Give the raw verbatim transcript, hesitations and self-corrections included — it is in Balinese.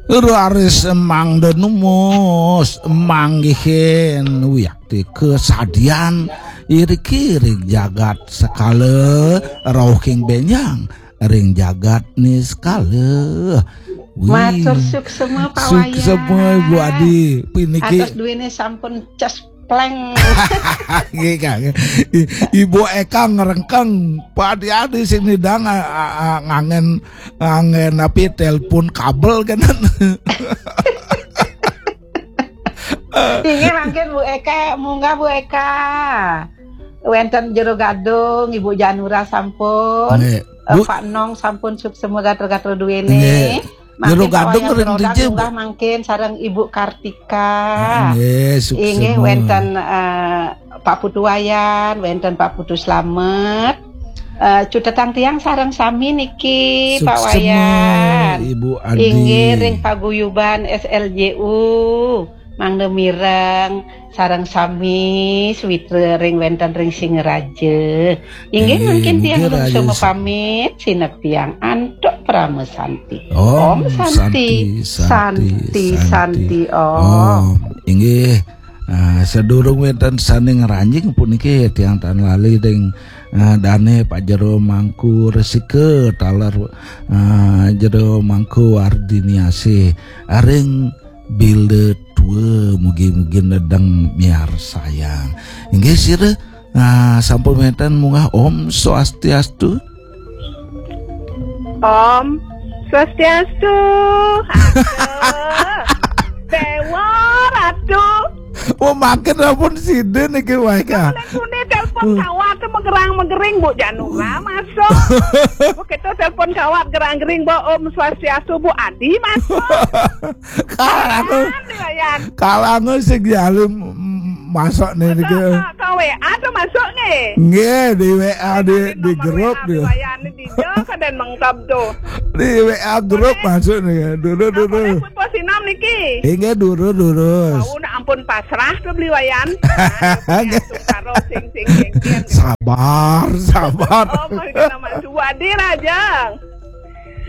Raris mangda numus manggihin wiakti kasadian iriki ring jagat sekala rauhing benjang ring jagat niskala. Wih. Matur suksema, Pak Wayan. Suksema, Ibu Adi. Piniki atas duene sampun cespleng. Nggih, Kang. I-, Ibu Eka ngrengkeng, Pak Adi-adi sing nidang, a-, a-, a-, ngangen, ngangen apa, telepon kabel kenen. Inggih mangkin Bu Eka, munggah Bu Eka. Wenten Jero Gadung, Ibu Janura sampun. Nggih. Eh, Bu Pak Nong sampun suksema gatel-gatel duene. Nggih. Jero Mangkin Gadung Pak Wayan ring Rodan dija, Bu? Munggah mangkin sareng Ibu Kartika. Ah, nggih, suksema. Inggih wenten, eh, Pak Putu Wayan, wenten Pak Putu Slamet. Eh, cutetang tiang sareng sami niki, Pak Suksema, Wayan. Ibu Adi. Inggih ring paguyuban S L J U. Mangda mireng sareng sami sawitra ring wenten ring Singaraja. Inggih, inggih, mangkin tiang Raja nuju Sa- pamit, sineb tiang antuk parama santi. Om Om Santi, Santi, Santi, Santi, Santi, Santi, Om. Om. Inggih. Ah, sadurung wenten sane ngranjing puniki tiang tan lali ring, ah, dane Pak Jero Mangku Resika taler, ah, Jero Mangku Ardiniasih. Aring bila tua mugi-mugi nedeng miarsayang. Inggih sira, ah, sampun wenten munggah Om Swastiastu. Om Swastiastu. Aduh. Dewa Ratu. Oh, makin ampun sida niki, Waika. Nek muni telepon kawat magerang-magering, Bu Janura masuk. Bu, kita telepon kawat gerang-gering, Bu, Om Swastiastu, Bu Adi masuk. Kalangan, Wayan. Kalangan sing dialim, mm, masuk nih niki. Masuk ke, ke W A tuh masuk nih. Nggih, di W A, di, di nomor grup W A di. Wayan di dia, kadang mengkap tuh. Di W A grup masuk nih. Dulu, dulu. Pun pos enam niki. Inggih, dulu, dulu. Mau nak ampun pasrah ke beli Wayan. Nah, karo sing, sing, sing, sing. Sabar, sabar. Oh, mari kita masuk. Bu Adi Raja.